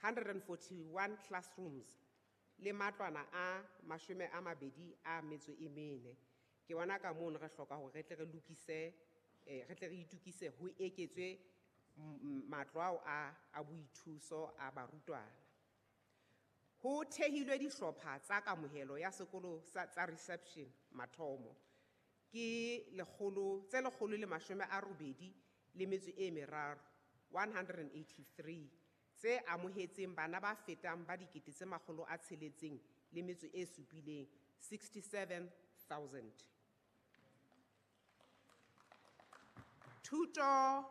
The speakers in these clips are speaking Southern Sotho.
141 classrooms le matlwana a 24. Ke bona ka mono re hloka hore re tle re lokise, re tle re itukise ho eketswe matlo ao a boithuso a barutwana. Ho thehilwe dihlopha tsa kamohelo ya sekolo tsa reception mathomo ke tse lekgolo le mashome a robedi le metso e meraro, 183, tse amohetseng bana ba fetang ba dikete tse makgolo a tsheletseng le metso e supileng, 67,000. Thuto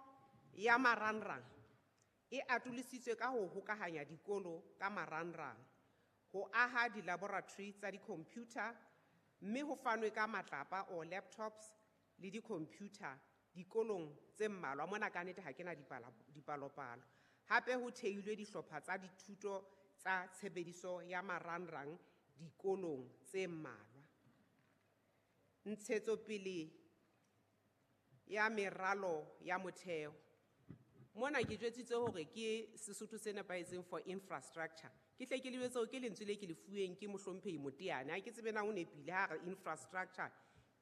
ya marangrang e atolositswe ka ho hokahanya dikolo ka marangrang, ho aha di-laboratory tsa di-computer, mme ho fanwe ka matlapa or laptops le di-computer dikolong tse mmalwa. Mona ka nnete ha ke na dipalopalo. Hape ho theilwe dihlopha tsa dithuto tsa tshebediso ya marangrang dikolong tse mmalwa. Ntshetsopele ya meralo ya motheo. Mona ke jwetsitse hore ke Sesotho se nepahetseng for infrastructure. Ke hle ke lebetse hore ke lentswe le ke le fuweng ke mohlomphehi Moteane. Ha ke tsebe na o nepile ha re infrastructure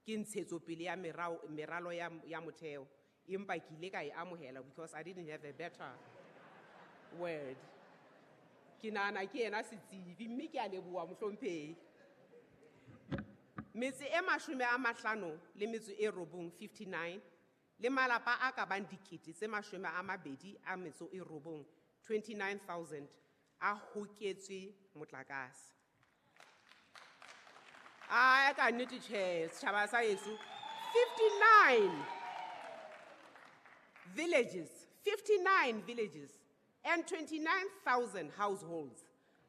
ke ntshetsopele ya meralo ya motheo. Empa ke ile ka e amohela because I didn't have a better word. Ke nahana ke yena setsebi mme ke a leboha mohlomphehi. Metse e 59, 59, le malapa a ka bang dikete tse 29, 29,000, a hoketswe motlakase. A ka nnete tjhe, setjhaba sa heso, 59 villages, 59 villages and 29,000 households.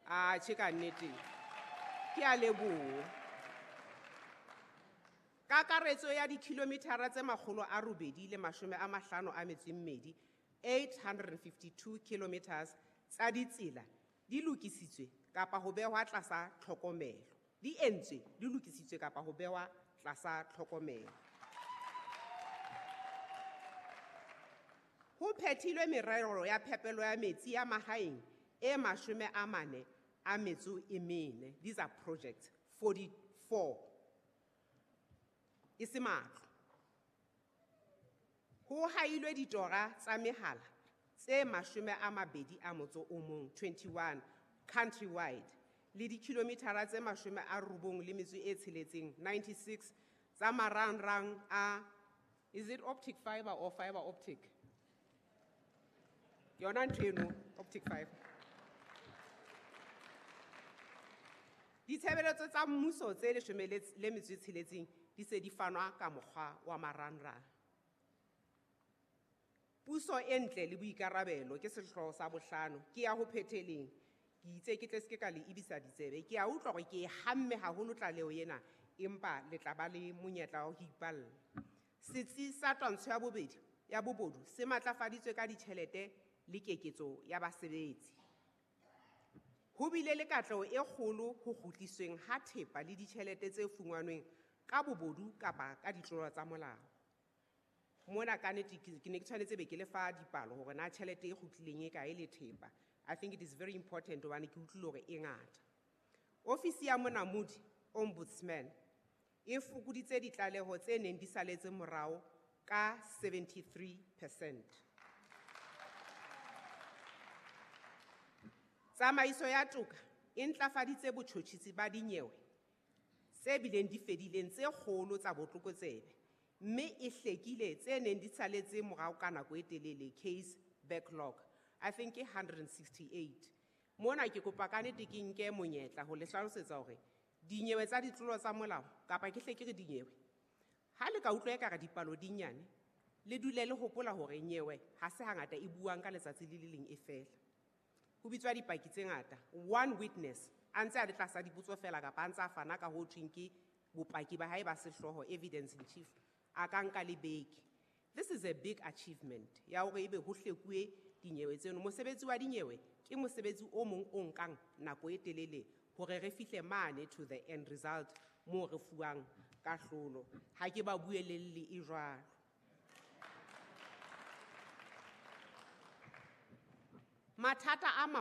A tjhe ka nnete, ke a leboha. Kakaretso ya dikilometara tse makgolo a robedi le mashome a mahlano a metso e mmedi, 852 kilometers tsa ditsela di lokisitswe kapa ho behwa tlasa tlhokomelo. Di entswe, di lokisitswe kapa ho behwa tlasa tlhokomelo. Ho phethilwe merero ya phepelo ya metsi ya mahaeng e 44. These are projects, 44. E se matlo. Ho hailwe ditora tsa mehala tse 21, 21 countrywide, le dikilometara tse 96, 96 tsa marangrang a, is it optic fiber or fiber optic? Yona ntho eno, optic fiber. Ditshebeletso tsa mmuso tse leshome le metso e tsheletseng di se di fanwa ka mokgwa wa marangrang. Puso e ntle le boikarabelo ke sehlooho sa bohlano, ke ya ho phetheleng. Ke itse ke tle se ke ka le ebisa ditsebe. Ke a utlwa hore ke e hamme haholo tlaleho ena, empa le tla ba le monyetla wa ho ipalla. Setsi sa twantsho ya bobedi ya bobodu se matlafaditswe ka ditjhelete le keketso ya basebetsi. Ho bile le katleho e kgolo ho kgutlisweng ha thepa le ditjhelete tse fumanweng ka bobodu kapa ka ditlolo tsa molao. Mona ka nnete ke ne ke tshwanetse be ke le fa dipalo hore na tjhelete e kgutlileng e kae le thepa. I think it is very important hobane ke utlwile hore e ngata. Ofisi ya Monamodi, Ombudsman, e fokoditse ditlaleho tse neng di saletse morao ka 73%. Tsamaiso ya toka e ntlafaditse botjhotjhisi ba dinyewe tse bileng di fedileng tse kgolo tsa botlokotsebe, mme e hlekile tse neng di saletse morao ka nako e telele, case backlog. I think ke 168. Mona ke kopa ka nnete ke nke monyetla ho le hlalosetsa hore dinyewe tsa ditlolo tsa molao, kapa ke hle ke re dinyewe, ha le ka utlwa ekare dipalo di nyane, le dule le hopola hore nyewe ha se hangata e buang ka letsatsi le le leng e fela. Ho bitswa dipaki tse ngata, one witness a ntse a le tlasa dipotso fela kapa a ntse a fana ka ho thweng ke bopaki ba hae ba sehlooho, evidence in chief, a ka nka le beke. This is a big achievement ya hore ebe ho hlekuwe dinyewe tseno. Mosebetsi wa dinyewe ke mosebetsi o mong o nkang nako e telele hore re fihle mane to the end result moo re fuwang kahlolo. Ha ke ba buelelle e jwalo. Mathata a maholo